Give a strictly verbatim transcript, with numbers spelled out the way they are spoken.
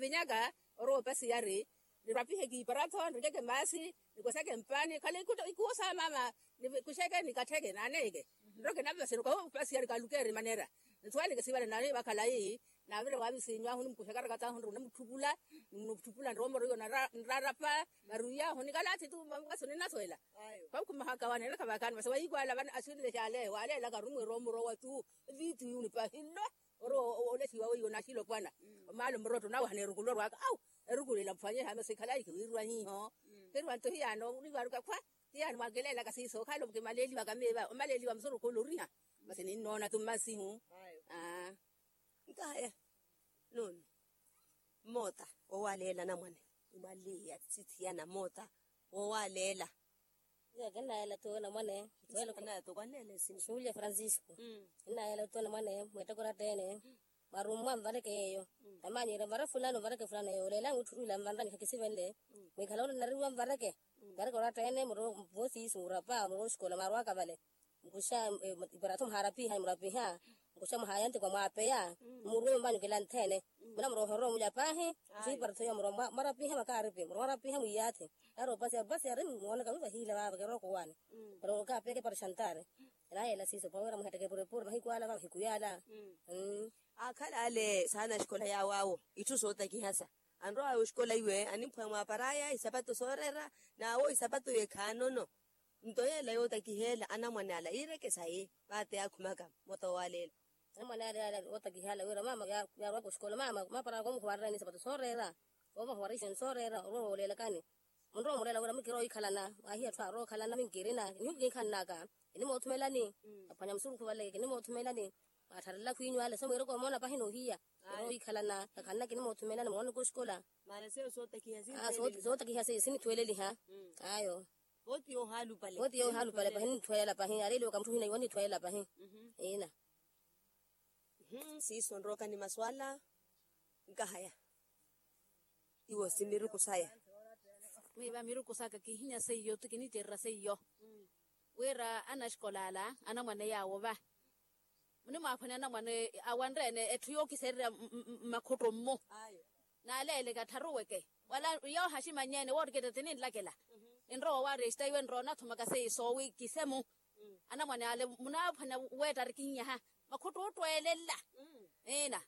Vinyaka orowa opasiyari, nirapihe kiiparato nirikeke maasi, nikoseke mpaani khale ikuwo sa maama, nikuxeke nikattheke naaneyeke. Nroke nave masi nikoha opasiyari kalukeeri manera. Nsuwaleke sivale nani vakhalayi, navire wavisinyu ahu nimukuxeka rakataahu nri onamutthupula, nimutthuphula nroomoro iyo nrarapa, nari iyaahu nikalaathi tu masi oninasuwela. Khwakhumahaka wane nilakha vakhaani masi wayikwala vana asinle xale waleelaka arumwe roomoro wa tu, viitu yuni pahillo. Ori olexiwa weiwo naxilopwana, omaala omurotto nawahana erukulo orwaka au, erukulo ila mphwanyeha masi khalayi khiwiirwa hiiho. Khiriwa nto hiyaano olivaruka khwa, hiyaano mwakeleelaka siiso okhala okimaleeliwaka meeva omaleeliwa musurukhu oloriha. Masi ninnoona tu mmasihu. Aa. Nkahaya, nono, mmoota wowaleela anamwane, imwaliya sithiyana mmoota wowaleela. Iyo kinnayeela tu anamwane. Anatokwanneela nsini. Julia francisco. Kinnayeela tu anamwane mwetteko oratta-ene, mwarummwa mvareke yeeyo. Tamanyire mvare fulani mvareke fulani yeeyo oleela mutthu ila mvanranyi khakisivenle. Mwikhala ole nariwa mvareke, mvareke oratta-ene muro, voosiisi murapa muro oxikola mwarwaka vale. Mukuxa, iparato muhaarapiha murapiha, mukuxa muhayantikwa mwapeya, murwe mvanyu kilanthene. Muna murohorwa mulya paahi, muxiiparato ya murwa mwarapiha makaaripi murwa mwarapiha mwiyaathi. Ari opasiya opasiya ari mmoonaka vivahiila vaava kirooko waani. Para okaapeke para xantari. Erayela siiso paweera muhetteke purepure mahiku ala va mahiku yaala. Aakhala ale saana axikola yaawo awo itthu sootakihasa, anrowa awo exikola iwe animphweya mwaaparaya isapato sooreera, n'awo isapato iwe khaanono. Nto yeela yootakiheela anamwane ala iireke sayi, vaate yaakhumaka mmoota wowaleela. Anamwane ala yootakiheela wira mama yaarwaka oxikola mama maaparaka omuhuwarerani isapato sooreera, omuhuwarerani sooreera orwa wooleelakani. Munrowa omuleela wira mukiroowa wikhalana, waahiya atthu aarowa okhalana minkirina nihu kinkhanaka. Kinimoothumelani, aphwanya musurukhu vale kinimoothumelani. Mwaatharela khwiinyu ale so mwiireke omoona pahi noohiya. Kiroowa wikhalana, kakhanna kinimoothumelani moonaka oxikola. Sootakiha seiyo sinithweleliha. Ayo. Vooti yoohaalupale pahi ninithwelela pahi aleeliwaka mutthu hina iwo ninithwelela pahi. Ina. Siiso nrookani masu ala. Nkahaya iwo simiruku saya. Miiva miruku saka kihinya seiyo ti kinicererya seiyo, wira anaxikola ala anamwane yaawo va munimwaaphwanya anamwane awanre-ene etthu yookisererya mmakhutto mmu. Naaleeleke attharuweke wala yoohaximannye-ene wooriketta tininlakela. Enrowa owaaresta iwe enrowa onathumaka seiso wi kisemu. Anamwane ale munaaphwanya weetta arikinyaha makhutto ottweelela. Ina.